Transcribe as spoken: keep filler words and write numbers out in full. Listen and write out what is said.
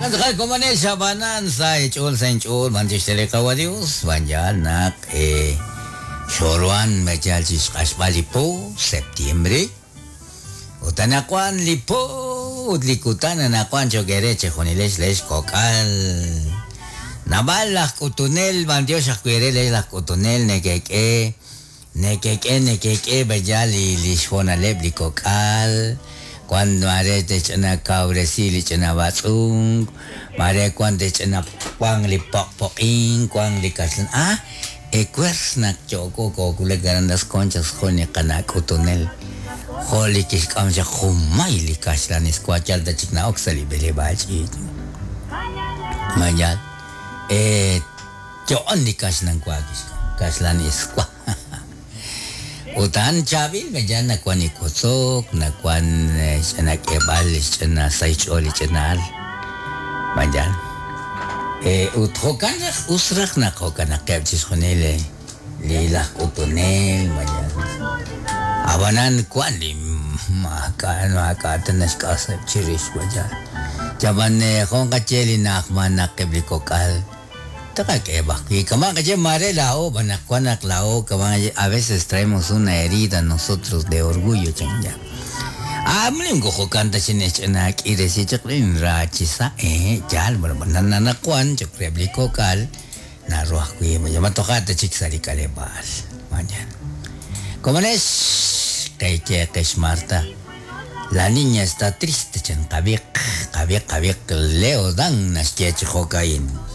Komanel xabanan sa ch'ol sa ch'ol manchextele kawa Dios banyal nak eh xorwan mechal chixq'axb'al li po septiembre utanakwan li po ut li kutan anakwan chokere chejunilex lex kok'al nab'al laj k'utunel bandiox ajwire lex laj k'utunel nekek'e nekek'e nekek'e b'ayal li li xjonaleb' li kok'al cuando mare te ch'ina kawresi li ch'ina b'atz'unk mare cuando te ch'ina wan li poq'poq'in wan li kaxlan ah ekwers naq choko kokulek aran Las Conchas jun li qana' k'utunel jo' li kixk'am chaq junmay li kaxlan iswa yal ta chik na'ok sa' li b'eleb'aal ch'iich' mayal eh yo'on li kaxlan wa kixk'am kaxlan iswa utan chabil medyan nakwan ikutsok nakwan ch'ina k'eb'al ch'ina say ch'ool li ch'inaal mayan eh ut jo'kan raj us raj naq jo'kanaqeb' chixjunil li laj k'utunel mayan abanan kwan li maak'a maak'a ta naxk'aseb' chirix mayan chaban jon qache li na'ajman naqeb' li kok'al a veces traemos una herida nosotros de orgullo chanya. Amlim ko kanta chinechana kiresi chakrin rachisa eh yal bueno nananakuan chakrebli kokal na ruah kui matokata chiksari kalebal mañana. Como es que que Marta la niña está triste chan kabiq kabiq kabiq Leo Dan naschech jokain.